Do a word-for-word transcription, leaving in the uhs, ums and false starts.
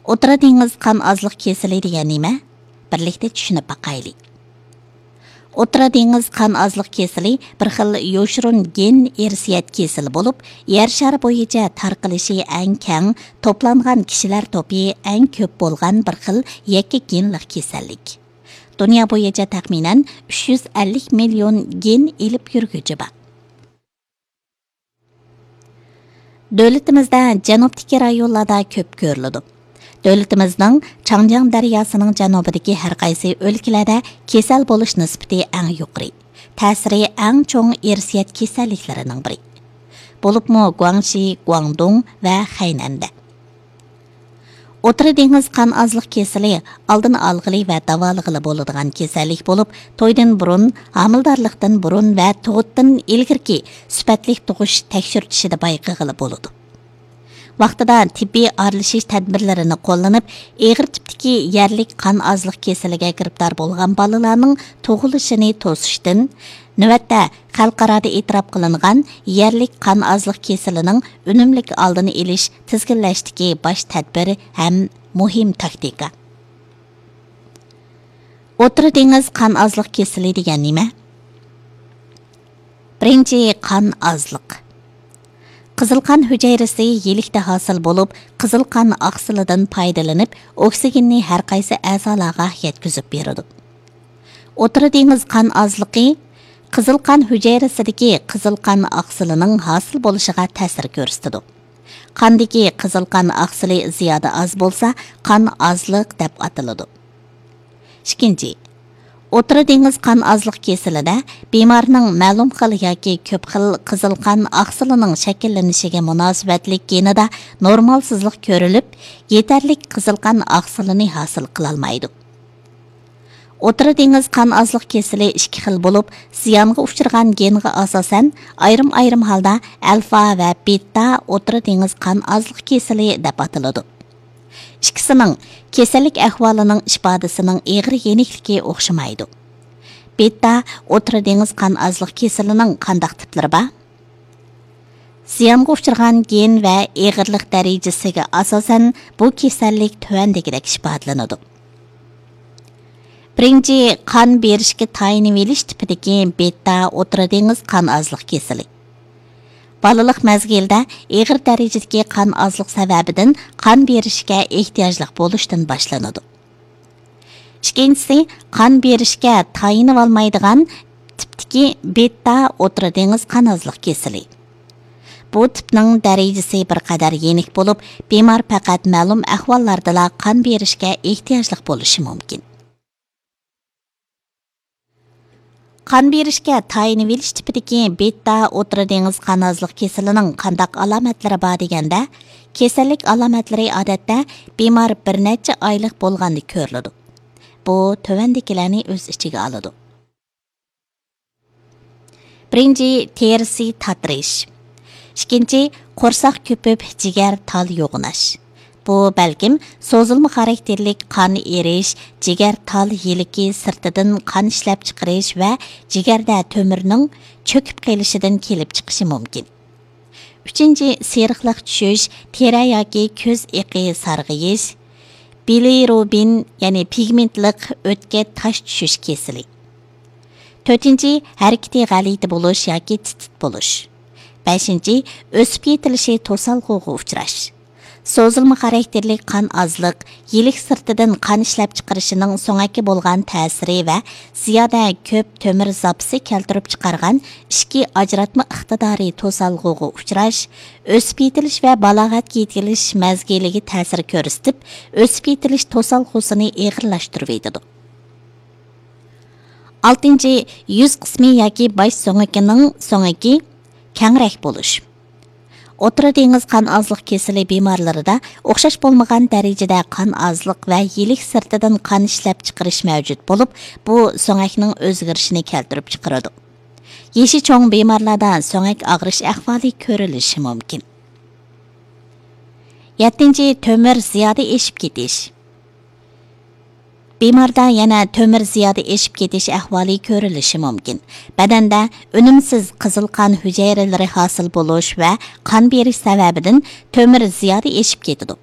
ئوتتۇرا دېڭىز قان ئازلىق كېسىلى دېگەن نېمە؟ بىرلىكتە چۈشىنىپ باقايلى. ئوتتۇرا دېڭىز قان ئازلىق كېسىلى بىر خىل يوشۇرۇن گېن ئىرسىيەت كېسىلى بولۇپ، يەر شارى بويىچە تارقىلىشى ئەڭ كەڭ، توپلانغان كىشىلەر توپى ئەڭ كۆپ بولغان بىر خىل يەككە گېنلىق كېسەللىك. دۇنيا بويىچە تەخمىنەن ئۈچ يۈز ئەللىك مىليون گېن ئېلىپ يۈرگۈچى بار. دۆلىتىمىزدە جەنۇبتىكى رايونلاردا كۆپ كۆرۈلىدۇ. دۆلىتىمىزنىڭ چاڭجياڭ دەرياسىنىڭ جەنۇبىدىكى ھەر قايسى ئۆلكىلەردە كېسەل بولۇش نىسبىتى ئەڭ يۇقىرى، تەسىرى ئەڭ چوڭ ئىرسىيەت كېسەللىكلىرىنىڭ بىرى. بولۇپمۇ گۇاڭشى، گۇاڭدۇڭ ۋە خەينەندە. ئوتتۇرا دېڭىز قان ئازلىق كېسىلى ئالدىنى ئالغىلى ۋە داۋالىغىلى بولىدىغان كېسەللىك بولۇپ، تويدىن بۇرۇن، ھامىلىدارلىقتىن بۇرۇن ۋە تۇغۇتتىن ئىلگىرىكى سۈپەتلىك تۇغۇش تەكشۈرتۈشىدە بايقىغىلى بولىدۇ. ۋاقتىدا تېببىي ئارىلىشىش تەدبىرلىرىنى قوللىنىپ، ئېغىر تىپتىكى يەرلىك قان ئازلىق كېسىلىگە گىرىپتار بولغان بالىلارنىڭ تۇغۇلۇشىنى توسۇشتىن، نۆۋەتتە خەلقئارادا ئېتىراپ قىلىنغان يەرلىك قان ئازلىق كېسىلىنىڭ ئۈنۈملۈك ئالدىنى ئېلىش، تىزگىنلەشتىكى باش تەدبىر ھەم مۇھىم تاكتىكا. ئوتتۇرا دېڭىز قان ئازلىق كېسىلى دېگەن نېمە؟ بىرىنچى، قان ئازلىق. قىزىل قان ھۈجەيرىسى يىلىكتە ھاسىل بولۇپ، قىزىل قان ئاقسىلىدىن پايدىلىنىپ، ئوكسىگېننى ھەر قايسى ئەزالارغا يەتكۈزۈپ بېرىدۇ. ئوتتۇرا دېڭىز قان ئازلىقى قىزىل قان ھۈجەيرىسىدىكى قىزىل قان ئاقسىلىنىڭ ھاسىل بولۇشىغا تەسىر كۆرسىتىدۇ. قاندىكى قىزىل قان ئاقسىلى زىيادە ئاز بولسا، قان ئازلىق دەپ ئاتىلىدۇ. ئىككىنچى، ئوتتۇرا دېڭىز قان ئازلىق كېسىلىدە بىمارنىڭ مەلۇم خىل ياكى كۆپ خىل قىزىل قان ئاقسىلىنىڭ شەكىللىنىشىگە مۇناسىۋەتلىك گېنىدا نورمالسىزلىق كۆرۈلۈپ، يېتەرلىك قىزىل قان ئاقسىلىنى ھاسىل قىلالمايدۇ. ئوتتۇرا دېڭىز قان ئازلىق كېسىلى ئىككى خىل بولۇپ، زىيانغا ئۇچرىغان گېنغا ئاساسەن، ئايرىم-ئايرىم ھالدا ئەلفا ۋە بېتا ئوتتۇرا دېڭىز قان ئازلىق كېسىلى دەپ ئاتىلىدۇ. ئىككىسىنىڭ كېسەللىك ئەھۋالىنىڭ ئىپادىسىنىڭ ئېغىر يېنىكلىكى ئوخشىمايدۇ. بېتا ئوتتۇرا دېڭىز قان ئازلىق كېسىلىنىڭ قانداق تىپلىرى بار؟ زىيانغا ئۇچرىغان گېن ۋە ئېغىرلىق دەرىجىسىگە ئاساسەن، بۇ كېسەللىك تۆۋەندىكىدەك ئىپادىلىنىدۇ. بىرىنچى، قان بېرىشكە تايىنىۋېلىش تىپىدىكى بېتا ئوتتۇرا دېڭىز قان ئازلىق كېسىلى. بالىلىق مەزگىلدە ئېغىر دەرىجىدىكى قان ئازلىق سەۋەبىدىن قان بېرىشكە ئېھتىياجلىق بولۇشتىن باشلىنىدۇ. ئىككىنچىسى، قان بېرىشكە تايىنىۋالمايدىغان تىپتىكى بېتا ئوتتۇرا دېڭىز قان ئازلىق كېسىلى. بۇ تىپنىڭ دەرىجىسى بىر قەدەر يېنىك بولۇپ، بىمار پەقەت مەلۇم ئەھۋاللاردىلا قان بېرىشكە ئېھتىياجلىق بولۇشى مۇمكىن. قان بېرىشكە تايىنىۋېلىش تىپىدىكى بېتا ئوتتۇرا دېڭىز قان ئازلىق كېسىلىنىڭ قانداق ئالامەتلىرى بار دېگەندە، كېسەللىك ئالامەتلىرى ئادەتتە بىمار بىر نەچچە ئايلىق بولغاندا كۆرۈلىدۇ. بۇ تۆۋەندىكىلەرنى ئۆز ئىچىگە ئالىدۇ. بىرىنچى، تېرىسى تاتىرىش. ئىككىنچى، قورساق كۆپۈپ، جىگەر تال يوغىناش. بۇ بەلكىم سوزۇلما خاراكتېرلىك قان ئېرىش، جىگەر تال يىلىكى سىرتىدىن قان ئىشلەپچىقىرىش ۋە جىگەردە تۆمۈرنىڭ چۆكۈپ قېلىشىدىن كېلىپ چىقىشى مۇمكىن. ئۈچىنچى، سېرىقلىق چۈشۈش، تېرە ياكى كۆز ئېقى سارغىيىش، بىلىروبىن، يەنى پىگمېنتلىق ئۆتكە تاش چۈشۈش كېسىلى. تۆتىنچى، ھەرىكىتى غەلىتە بولۇش ياكى تىت-تىت بولۇش. بەشىنچى، ئۆسۈپ يېتىلىشى توسالغۇغا ئۇچراش. سوزۇلما خاراكتېرلىك قان ئازلىق، يىلىك سىرتىدىن قان ئىشلەپچىقىرىشىنىڭ سۆڭەككە بولغان تەسىرى ۋە زىيادە كۆپ تۆمۈر زاپىسى كەلتۈرۈپ چىقارغان ئىچكى ئاجراتما ئىقتىدارى توسالغۇغا ئۇچراش، ئۆسۈپ يېتىلىش ۋە بالاغەتكە يېتىلىش مەزگىلىگە تەسىر كۆرسىتىپ، ئۆسۈپ يېتىلىش توسالغۇسىنى ئېغىرلاشتۇرۇۋېتىدۇ. ئالتىنچى، يۈز قىسمى ياكى باش سۆڭىكىنىڭ سۆڭىكى كەڭرەك بولۇش. ئوتتۇرا دېڭىز قان ئازلىق كېسىلى بىمارلىرىدا ئوخشاش بولمىغان دەرىجىدە قان ئازلىق ۋە يىلىك سىرتىدىن قان ئىشلەپچىقىرىش مەۋجۇت بولۇپ، بۇ سۆڭەكنىڭ ئۆزگىرىشىنى كەلتۈرۈپ چىقىرىدۇ. يېشى چوڭ بىمارلاردا سۆڭەك ئاغرىش ئەھۋالى كۆرۈلۈشى مۇمكىن. يەتتىنچى، تۆمۈر زىيادە ئېشىپ كېتىش. بىماردا يەنە تۆمۈر زىيادە ئېشىپ كېتىش ئەھۋالى كۆرۈلۈشى مۇمكىن. بەدەندە ئۈنۈمسىز قىزىل قان ھۈجەيرىلىرى ھاسىل بولۇش ۋە قان بېرىش سەۋەبىدىن تۆمۈر زىيادە ئېشىپ كېتىدۇ.